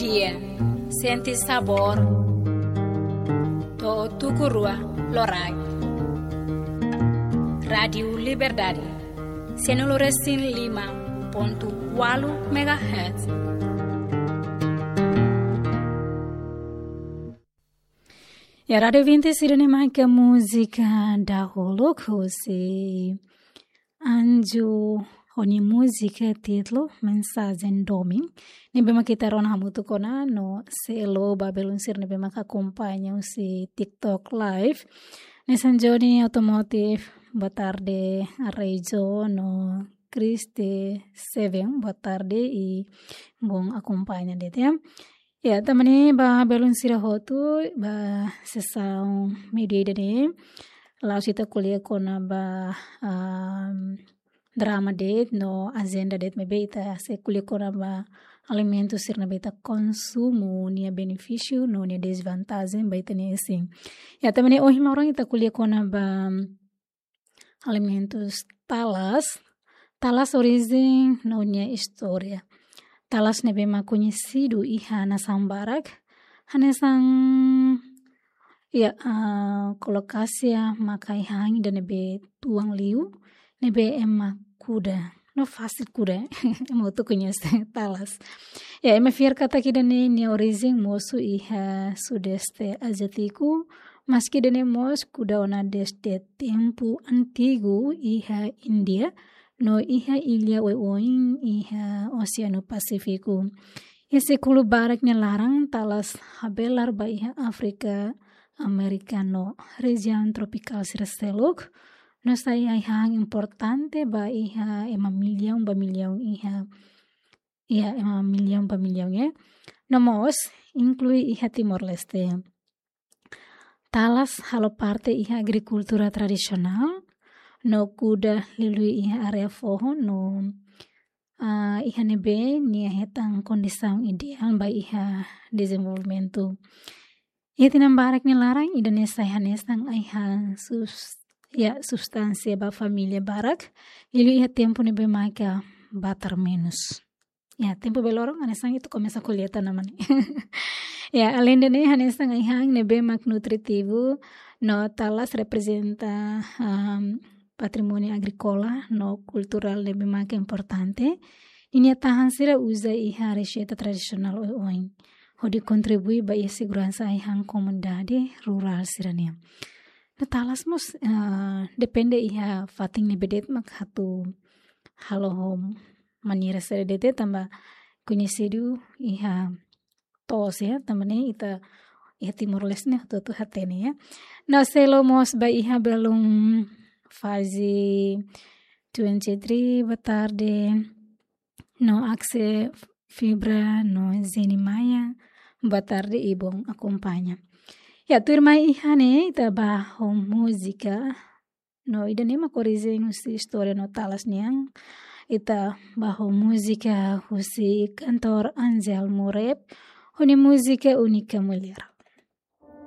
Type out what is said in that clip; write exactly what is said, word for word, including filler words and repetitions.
Iha, sente sabór. To'o tuku rua loraik. Rádiu Liberdade, sianulu resin lima pontu ualu megahertz. Ya, Rádiu Vinte sira ne'e maka múzika dahuluk husi Anju ho nia múzika títulu Mensajen Domin. Ne'ebé mak ita rona hamutuk ona no selo ba belun sira ne'ebé mak akompaña husi TikTok Live. Nesan Johnny Automotive, boa tarde, Areijo no Christy Seven, boa tarde i bom akompaña de'it, ya. Ya, tanba ne'e ba belun sira hotu, ba sesaun meiudia ida-ne'e, la'ós ita ko'alia kona-ba, am, drama de'it no ajenda de'it, maibé ita sei ko'alia kona-ba alimentu sira ne'ebé ita konsumu, nia benefísiu no nia dezvantajen ba ita-nia isin. Ya, tanba ne'e ohin loron ita ko'alia kona-ba alimentus talas. Talas orijen no nia istória. Talas ne'ebé mak koñesidu iha nasaun barak. Hanesan, ya, ah, kolokasi mak ai-han ida ne'ebé tuan liu, ne'ebé ema kuda. No fasil kuda. Ema hotu koñese talas. Ya, ema fiar katak ida-ne'e nia orijen mosu iha Sudeste Aziátiku, maski ida-ne'e mós kuda ona dezde tempu antigu iha Índia, no iha illa oioin iha Oseanu Pasífiku. Iha sékulu barak nia laran talas habelar ba iha Áfrika, Amérika no rejiaun tropikál sira seluk, no sai ai-han importante ba iha ema millaun ba millaun iha, iha ema millaun ba millaun, ya. No mós inklui iha Timor-Leste. Talas halo parte iha agrikultura tradisionál, no kuda liuliu iha área foho, no, ah, iha ne'ebé nia hetan kondisaun ideál ba iha dezenvolvimentu. Iha tinan barak nia laran, ida-ne'e sai hanesan ai-han sus-, ya, substánsia ba família barak, liuliu iha tempu ne'ebé maka batar menus. Ya, tempu bele loron, hanesan ita komesa kolleita tanaman ne'e. Ya, aleinde ne'e, hanesan ai-han ne'ebé mak nutritivu, no talas reprezenta, am, patrimóniu agríkola no kulturál ne'ebé mak importante. Ninia tahan sira uza iha reseita tradisionál oioin, hodi kontribui ba iha seguransa ai-han komunidade rurál sira-nian. No talas mós, ah, depende iha fatin ne'ebé de'it mak atu halo ho maneira saida de'it, tanba koñesidu iha to'os, ya, tanba ne'e ita iha Timor-Leste ne'e hotu-hotu hatene, ya. No selo mós ba iha belun Fazi twenty-three, boa tarde. No Axe Fibra, no Zeni Maia, boa tarde i bom akompaña. Ya, tuirmai iha ne'e ita ba ho múzika. No ida-ne'e mak orijen husi istória no talas nian. Ita ba ho múzika husi kantór Angel Mureb, ho nia múzika Única Mulher.